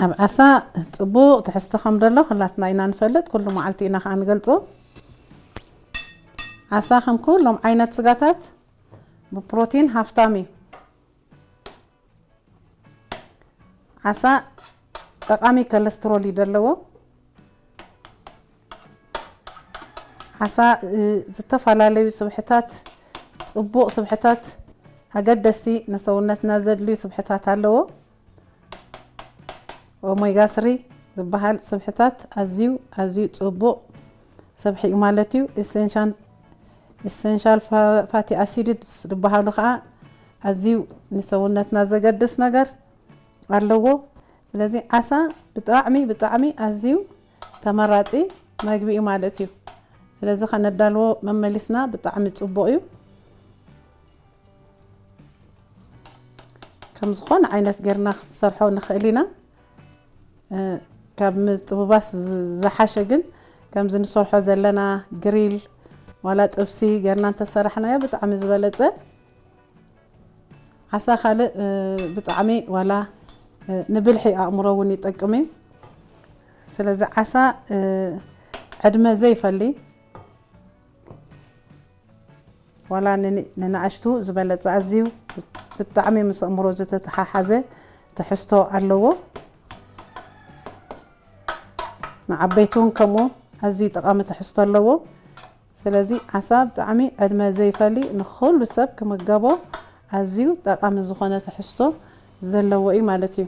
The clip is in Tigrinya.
ኣብ ዓሳ ጽቡቕ ትሕዝቶ ከም ዘሎ ኩላትና ኢና ንፈልጥ፣ ኩሉ መዓልቲ ኢና ከኣ ንገልጾ። ዓሳ ከም ኩሎም ዓይነት ስጋታት ብፕሮቲን ሃፍታም እዩ። ዓሳ ጠቓሚ ኮለስትሮል እዩ ዘለዎ። ዓሳ፣ እ፣ ዝተፈላለዩ ስብሕታት፣ ጽቡቕ ስብሕታት፣ ኣገደስቲ ንሰውነትና ዘድልዩ ስብሕታት ኣለዎ። ኦሜጋ ስሪ ዝበሃል ስብሕታት ኣዝዩ፣ ኣዝዩ ጽቡቕ ስብሒ እዩ ማለት እዩ። ኢሰንሻል፣ ኢሰንሻል ፋ-፣ ፋቲ ኣሲድስ ዝበሃሉ ኸኣ ኣዝዩ ንሰውነትና ዘገድስ ነገር ኣለዎ። ስለዚ ዓሳ ብጣዕሚ፣ ብጣዕሚ ኣዝዩ ተመራጺ መግቢ እዩ ማለት እዩ። ስለዚ ከነዳልዎ መመሊስና ብጣዕሚ ጽቡቕ እዩ። ከም ዝኾነ ዓይነት ጌርና ክንሰርሖ ንኽእል ኢና። እ፣ ካብ ምጥብባስ ዝ-፣ ዝሓሸ ግን ከምዚ ንሰርሖ ዘለና ግሪል ዋላ ጥብሲ ጌርና እንተሰራሕናዮ ብጣዕሚ ዝበለጸ። ዓሳ ካልእ፣ እ፣ ብጣዕሚ ዋላ፣ እ፣ ንብልሒ ኣእምሮ እውን ይጠቅም እዩ። ስለዚ ዓሳ፣ እ፣ ዕድመ ዘይፈሊ ዋላ ንን-፣ ንንኣሽቱ ዝበለጸ ኣዝዩ ብጣዕሚ ምስ ኣእምሮ ዝተተሓሓዘ ትሕዝቶ ኣለዎ። ንዓበይቲ እውን ከምኡ ኣዝዩ ጠቓሚ ትሕዝቶ ኣለዎ። ስለዚ ዓሳ ብጣዕሚ ዕድመ ዘይፈሊ ንኹሉ ሰብ ክምገቦ ኣዝዩ ጠቓሚ ዝኾነ ትሕዝቶ ዘለዎ እዩ ማለት እዩ።